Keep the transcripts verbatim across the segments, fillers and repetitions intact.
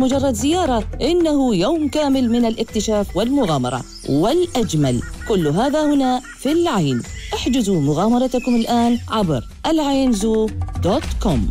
مجرد زيارة، إنه يوم كامل من الاكتشاف والمغامرة والأجمل. كل هذا هنا في العين. احجزوا مغامرتكم الآن عبر العين زو دوت كوم.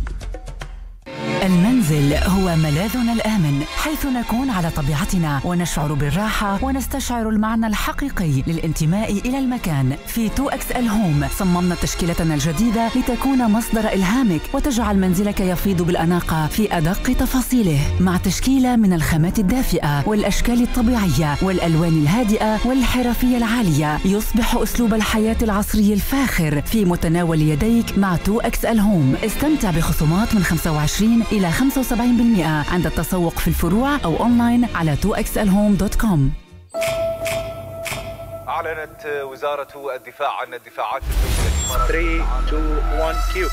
المنزل هو ملاذنا الآمن، حيث نكون على طبيعتنا ونشعر بالراحة ونستشعر المعنى الحقيقي للانتماء إلى المكان. في تو إكس إل هوم صممنا تشكيلتنا الجديدة لتكون مصدر إلهامك وتجعل منزلك يفيض بالأناقة في أدق تفاصيله، مع تشكيلة من الخامات الدافئة والأشكال الطبيعية والألوان الهادئة والحرفية العالية. يصبح أسلوب الحياة العصري الفاخر في متناول يديك مع تو إكس إل هوم. استمتع بخصومات من خمسة وعشرين إلى خمسة وسبعين بالمئة عند التسوق في الفروع أو أونلاين على تو إكس إل هوم دوت كوم. أعلنت وزارة الدفاع عن الدفاعات الزوجية. ثلاثة اثنين واحد كيو.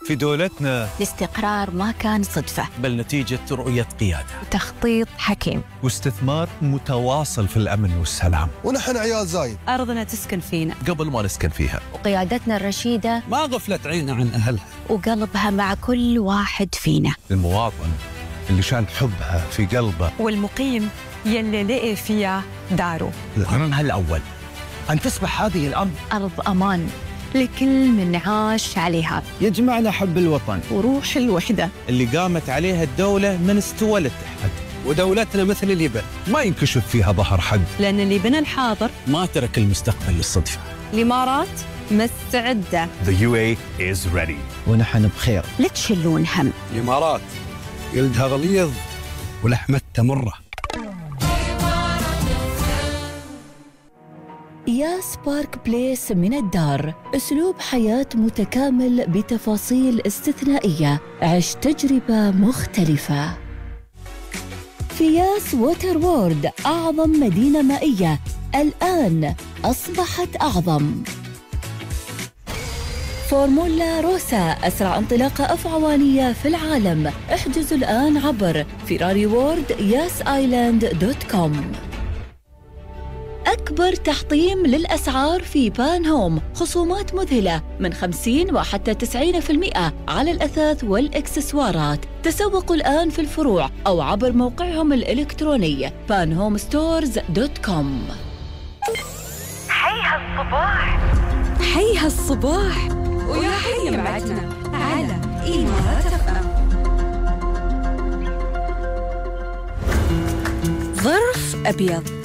في دولتنا الاستقرار ما كان صدفة، بل نتيجة رؤية قيادة وتخطيط حكيم واستثمار متواصل في الأمن والسلام. ونحن عيال زايد، أرضنا تسكن فينا قبل ما نسكن فيها، وقيادتنا الرشيدة ما غفلت عيننا عن أهلها، وقلبها مع كل واحد فينا. المواطن اللي شان حبها في قلبه، والمقيم يلي لقي فيها داره. قرارها الأول أن تصبح هذه الأرض أرض أمان لكل من عاش عليها. يجمعنا حب الوطن وروح الوحدة اللي قامت عليها الدولة من استوى للتحد. ودولتنا مثل اليبن ما ينكشف فيها ظهر حد، لأن اللي بنى الحاضر ما ترك المستقبل للصدفة. الإمارات مستعدة. The يو إيه is ready. ونحن بخير، لا تشلون هم. الإمارات جلدها غليظ ولحمتها مرة. ياس بارك بليس من الدار، أسلوب حياة متكامل بتفاصيل استثنائية. عش تجربة مختلفة في ياس ووتر وورد، أعظم مدينة مائية الآن أصبحت أعظم. فورمولا روسا، أسرع انطلاقة أفعوانية في العالم. احجزوا الآن عبر فيراري وورد ياس آيلاند دوت كوم. أكبر تحطيم للأسعار في بان هوم، خصومات مذهلة من خمسين وحتى تسعين بالمئة على الأثاث والإكسسوارات. تسوقوا الآن في الفروع أو عبر موقعهم الإلكتروني بان هوم ستورز دوت كوم. حي هالصباح، حي هالصباح، ويا حي معتنا على إمارات إف إم. ظرف أبيض.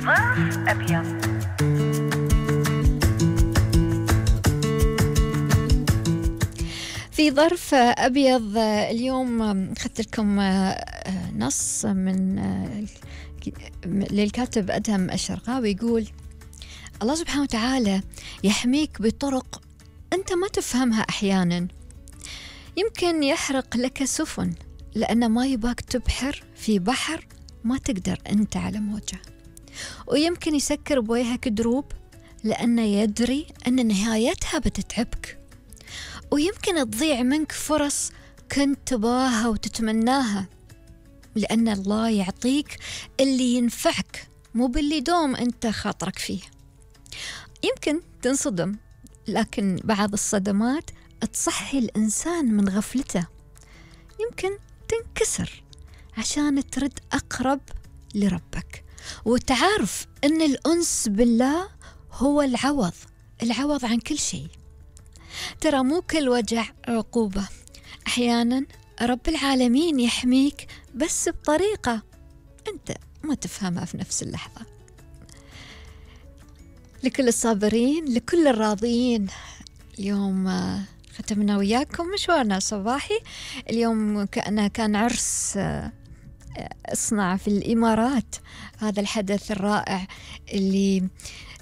ظرف أبيض. في ظرف أبيض اليوم أخذت لكم نص من للكاتب أدهم الشرقاوي، يقول: الله سبحانه وتعالى يحميك بطرق أنت ما تفهمها أحيانا. يمكن يحرق لك سفن لأن ما يباك تبحر في بحر ما تقدر أنت على موجه، ويمكن يسكر بوجهك دروب لأنه يدري أن نهايتها بتتعبك، ويمكن تضيع منك فرص كنت تباها وتتمناها لأن الله يعطيك اللي ينفعك مو باللي دوم أنت خاطرك فيه. يمكن تنصدم، لكن بعض الصدمات تصحي الإنسان من غفلته. يمكن تنكسر عشان ترد أقرب لربك وتعرف أن الأنس بالله هو العوض العوض عن كل شيء. ترى مو كل وجع عقوبة، أحيانا رب العالمين يحميك بس بطريقة أنت ما تفهمها في نفس اللحظة. لكل الصابرين، لكل الراضيين، اليوم ختمنا وياكم مشوارنا صباحي. اليوم كأنه كان عرس اصنع في الإمارات، هذا الحدث الرائع اللي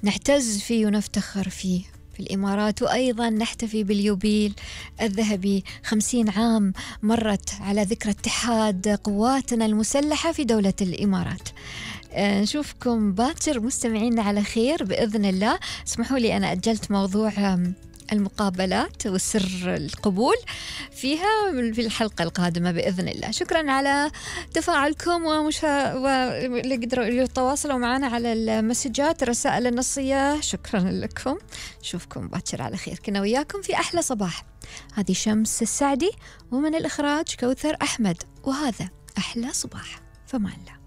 نعتز فيه ونفتخر فيه في الإمارات، وأيضا نحتفي باليوبيل الذهبي، خمسين عام مرت على ذكرى اتحاد قواتنا المسلحة في دولة الإمارات. نشوفكم باكر مستمعين على خير بإذن الله. اسمحوا لي أنا أجلت موضوع المقابلات وسر القبول فيها في الحلقة القادمة بإذن الله. شكرا على تفاعلكم ومشا... واللي قدروا يتواصلوا معنا على المسجات الرسائل النصية، شكرا لكم. نشوفكم باكر على خير. كنا وياكم في أحلى صباح. هذه شمس السعدي، ومن الإخراج كوثر أحمد، وهذا أحلى صباح. فمان الله.